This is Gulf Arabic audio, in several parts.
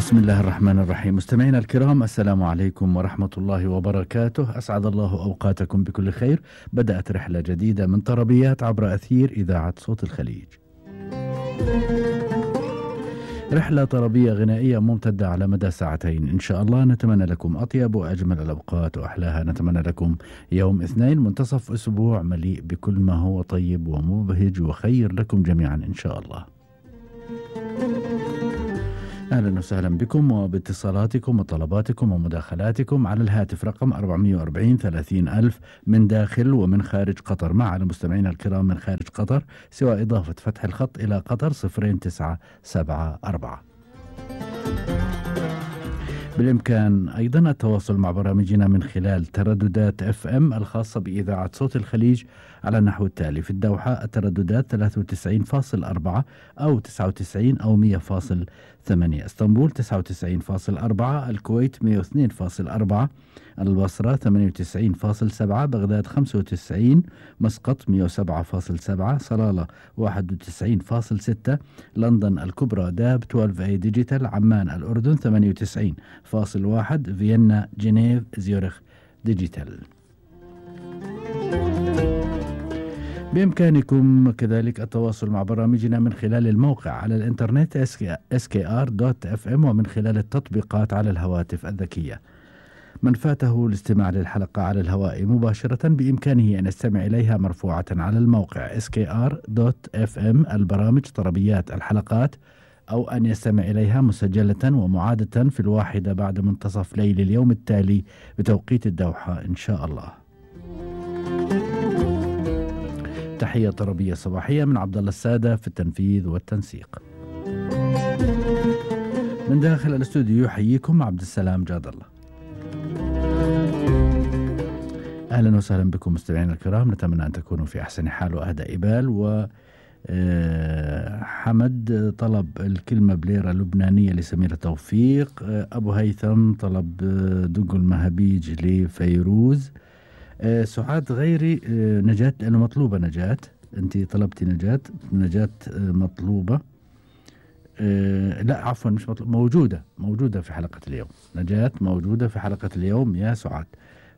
بسم الله الرحمن الرحيم. مستمعينا الكرام، السلام عليكم ورحمة الله وبركاته. أسعد الله أوقاتكم بكل خير. بدأت رحلة جديدة من طربيات عبر أثير إذاعة صوت الخليج. رحلة طربية غنائية ممتدة على مدى ساعتين إن شاء الله. نتمنى لكم أطيب وأجمل الأوقات وأحلاها. نتمنى لكم يوم اثنين منتصف أسبوع مليء بكل ما هو طيب ومبهج وخير لكم جميعا إن شاء الله. أهلا وسهلا بكم وباتصالاتكم وطلباتكم ومداخلاتكم على الهاتف رقم 440 30,000 من داخل ومن خارج قطر. مع على مستمعينا الكرام من خارج قطر سوى إضافة فتح الخط إلى قطر 0974. بالإمكان أيضا التواصل مع برامجنا من خلال ترددات FM الخاصة بإذاعة صوت الخليج على النحو التالي: في الدوحة الترددات 93.4 أو 99 أو 100.8، اسطنبول 99.4، الكويت 102.4، البصرة 98.7، بغداد 95، مسقط 107.7، صلالة 91.6، لندن الكبرى داب 12A ديجيتال، عمان الأردن 98.1، فيينا جنيف زيورخ ديجيتال. بإمكانكم كذلك التواصل مع برامجنا من خلال الموقع على الإنترنت skr.fm ومن خلال التطبيقات على الهواتف الذكية. من فاته الاستماع للحلقة على الهواء مباشرة بإمكانه أن يستمع إليها مرفوعة على الموقع skr.fm البرامج طربيات الحلقات، أو أن يستمع إليها مسجلة ومعادة في 1 بعد منتصف ليل اليوم التالي بتوقيت الدوحة إن شاء الله. تحية طربية صباحية من عبد الله السادة في التنفيذ والتنسيق. من داخل الاستوديو يحييكم عبد السلام جاد الله. أهلا وسهلا بكم مستمعينا الكرام. نتمنى أن تكونوا في أحسن حال وأهدى بال. حمد طلب الكلمة بليرة لبنانية لسميرة توفيق. أبو هيثم طلب دق المهابيج لفيروز. سعاد غيري نجاة، لأنه مطلوبة نجاة، أنت طلبتي نجاة مطلوبة. لا عفوا مش مطلوبة، موجودة في حلقة اليوم. نجاة موجودة في حلقة اليوم يا سعاد،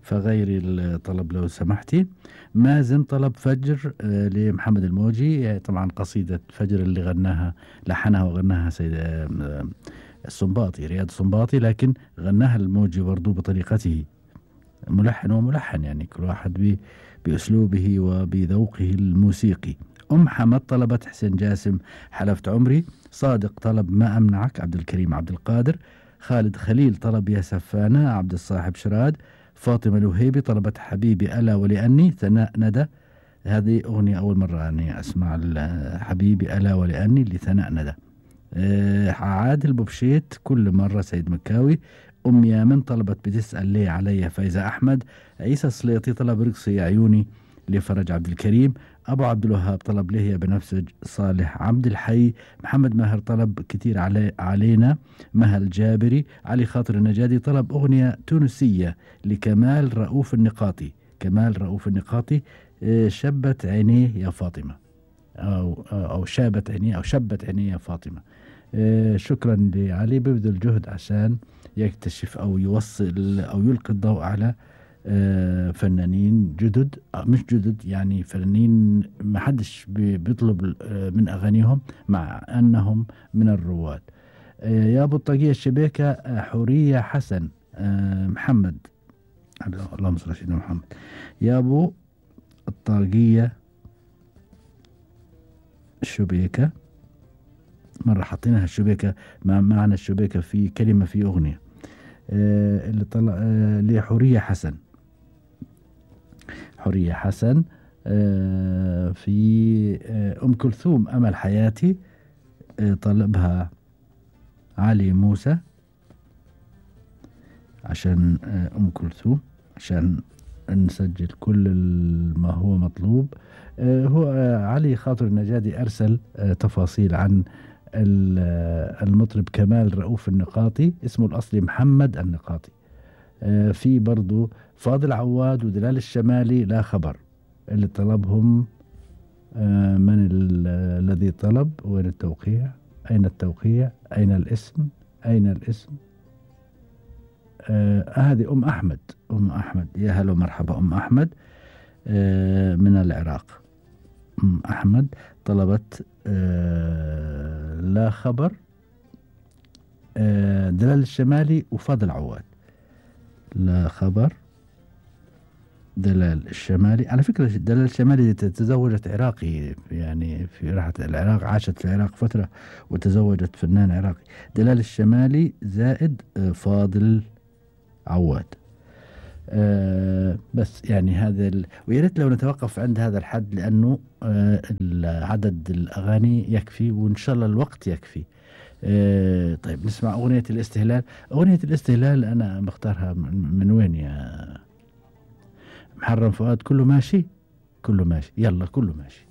فغيري الطلب لو سمحتي. مازن طلب فجر لمحمد الموجي، طبعا قصيدة فجر اللي غناها لحنها وغناها سيد السنباطي رياض السنباطي، لكن غناها الموجي برضو بطريقته، ملحن وملحن، يعني كل واحد بأسلوبه وبذوقه الموسيقي. حمد طلبت حسين جاسم حلفت عمري. صادق طلب ما أمنعك عبد الكريم عبد القادر. خالد خليل طلب يا سفانة عبد الصاحب شراد. فاطمة الوهيبي طلبت حبيبي ألا ولأني. ثناء ندى، هذه أغنية أول مرة أني أسمع حبيبي ألا ولأني لثناء ندى. عادل بوبشيت كل مرة. سيد مكاوي. يامن طلبت بتسأل ليه علي فايزة أحمد. عيسى السليطي طلب رقصي يا عيوني لفرج عبد الكريم. أبو عبد الوهاب طلب ليه يا بنفسج صالح عبد الحي. محمد ماهر طلب كتير علينا مهل جابري. علي خاطر النجادي طلب أغنية تونسية لكمال رؤوف النقاطي. كمال رؤوف النقاطي شبت عينيه يا فاطمة، أو شابت عينيه أو شبت عينيه يا فاطمة. شكرا لعلي، ببذل جهد عشان يكتشف أو يوصل أو يلقي الضوء على فنانين جدد، مش جدد يعني فنانين ما حدش بيطلب من أغانيهم مع أنهم من الرواد. يا أبو الطاقية الشبيكة حورية حسن محمد، اللهم صل على سيدنا محمد. يا أبو الطاقية الشبيكة، مرة حطيناها الشبيكة مع معنى الشبيكة في كلمة في أغنية. اللي طلع لحورية حسن. حورية حسن في أم كلثوم أمل حياتي طلبها علي موسى عشان أم كلثوم، عشان نسجل كل ما هو مطلوب. هو علي خاطر النجادي أرسل تفاصيل عن المطرب كمال رؤوف النقاطي، اسمه الأصلي محمد النقاطي. في برضو فاضل عواد ودلال الشمالي لا خبر، اللي طلبهم من الذي طلب؟ وين التوقيع؟ أين التوقيع؟ أين الاسم؟ أين الاسم؟ هذه أم أحمد. أم أحمد، يا هلا ومرحبا أم أحمد. من العراق. أم أحمد طلبت لا خبر، دلال الشمالي وفاضل عواد. لا خبر دلال الشمالي. على فكرة دلال الشمالي تزوجت عراقي، يعني في راحت العراق، عاشت في العراق فترة وتزوجت فنان عراقي. دلال الشمالي زائد فاضل عواد. بس يعني هذا ويا ريت لو نتوقف عند هذا الحد، لأنه عدد الأغاني يكفي، وإن شاء الله الوقت يكفي. طيب نسمع أغنية الاستهلال. أغنية الاستهلال أنا بختارها من وين يا محرم فؤاد؟ كله ماشي، كله ماشي، يلا كله ماشي.